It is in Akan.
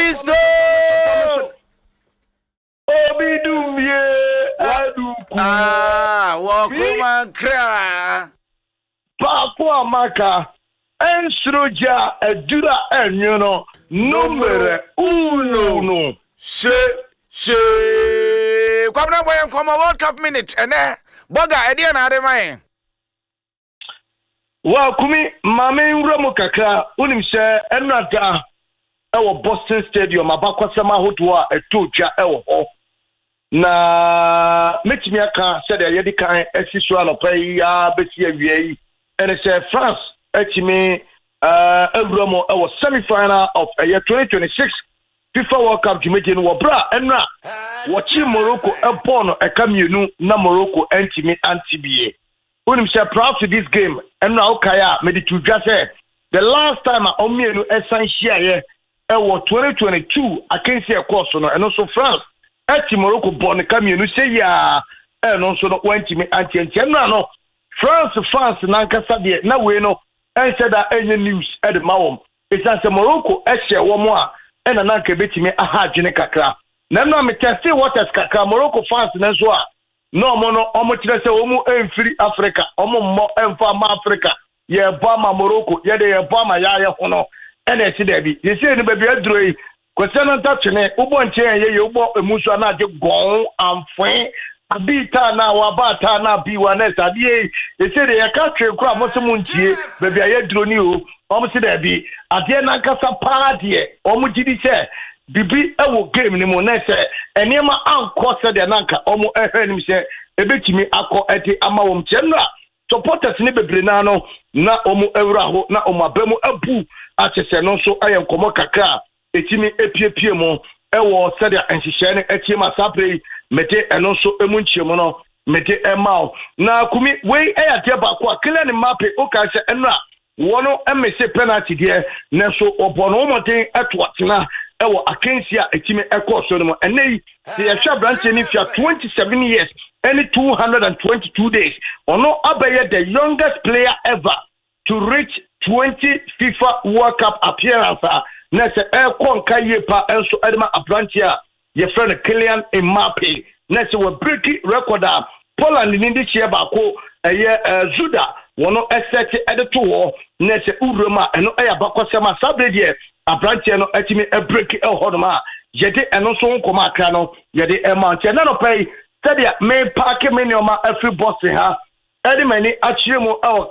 Obi Stone. Obi Dumie Aduku. Ah, wɔkoma nkra. Baako a maka ɛnsoro gya aduru a ɛnwo no numero uno. Hye hye. Kwabena, bɔ yɛn nkɔmmɔ. World Cup minute ɛnɛ bɔga ɛdeɛ na ade ma yɛn. Wa Kumi, maame, nwura mu kakra. Wonim sɛ ɛnora da ɛwɔ Boston Stadium, abakɔsɛm ahodoɔ a ɛtɔ dwa ɛwɔ hɔ, na mɛtumi aka sɛdeɛ yɛde kan asi so anɔpa yi a bɛsi awia yi, ɛne sɛ France atumi awura mu ɛwɔ semi-final of ɛyɛ 2026 FIFA World Cup dwumadie no, wɔ berɛ a ɛnora wɔkye Morocco ɛbɔɔ no ɛka 2 na Morocco ɛntumi ante bie. Wonim sɛ prior to this game, ɛnora wokae a mede to dwa sɛ the last time a ɔmmienu ɛsan hyiaeɛ ɛwɔ 2022 akansi ɛkɔɔ so no, ɛno nso France ɛti Morocco bɔ ne ka 2 sɛ yia, ɛno nso no wantumi antiantia. Ɛnora no France fans nankasa deɛ, na wei no ɛnhyɛ da ɛnyɛ news ɛde ma wɔn, ɛsiane sɛ Morocco ɛhyɛ wɔn a ɛna nanka ebɛtumi aha adwene kakra. Na ɛnora me test waters kakra, Morocco fans no nso a na ɔmo no ɔmo kyerɛ sɛ ɔmo mfiri Africa, ɔmo mmɔ ɛmfa ama Africa, yɛbɔ ama Morocco, yɛde yɛbɔ ama yɛayɛ ho no, ɛna ɛsi daabi yɛsɛ no baabi aduro yi kwasi no nta twene wobɔ nkyɛn yɛ yɛ wobɔ emu nso ana agye gɔn amfoe abi taa na waba taa na abi wa na ɛsɛ adeɛ yi yɛsɛ deɛ yɛka twene kora mo sɛ mo ntie baabi a yɛduro ni o. Ɔmo si daabi, adeɛ nankasa paa deɛ ɔmo gyi di sɛ bibi ɛwɔ game no mu na sɛ nneɛma ankɔ sɛdeɛ nanka ɔmo ɛhwɛ anim sɛ ebetumi akɔ ɛde ama wɔn kyɛn no a, supporters ne bebree naa no na wɔn awura hɔ na wɔn aba mu abu akyɛ sɛ no nso ɛyɛ nkɔmɔ kakra a etimi epiepie mu ɛwɔ sɛdeɛ nhyehyɛe no atie mu a saa bere yi mede ɛno nso emu nkyɛmu no mede ɛma wo. Na Kumi, wei ɛyɛ adeɛ baako a Kylian Mbappe okae sɛ ɛno a wɔn mmese penalty deɛ, nanso ɔbɔ no wɔmɔden ɛto atena ɛwɔ akansi a etimi ɛkɔɔ so no mu. Ɛnɛ yi sɛ yɛhwɛ aberanteɛ no fia 27 years ɛne 222 days, ɔno abɛyɛ the youngest player ever to reach 20 FIFA World Cup appearance a na sɛ ɛrekɔ nka yie pa nso ɛde ma aberanteɛ a yɛfrɛ no Kylian Mbappe, na sɛ wɔ break record a Poland ni de hyɛ baako ɛyɛ Zuda wɔn ɛsɛte ɛde to hɔ, na sɛ wura mu a ɛno ɛyɛ abakɔsɛm a saa bere deɛ aberanteɛ no ɛtumi ɛ break ɛwɔ hɔnom a yɛde ɛno nso nkɔmɔ akra no yɛde ɛma. Nti ɛna nɔpɛ yi, sɛdeɛ me pack me nneɛma afiri Boston ha ɛde m'ani akyerɛ mu ɛwɔ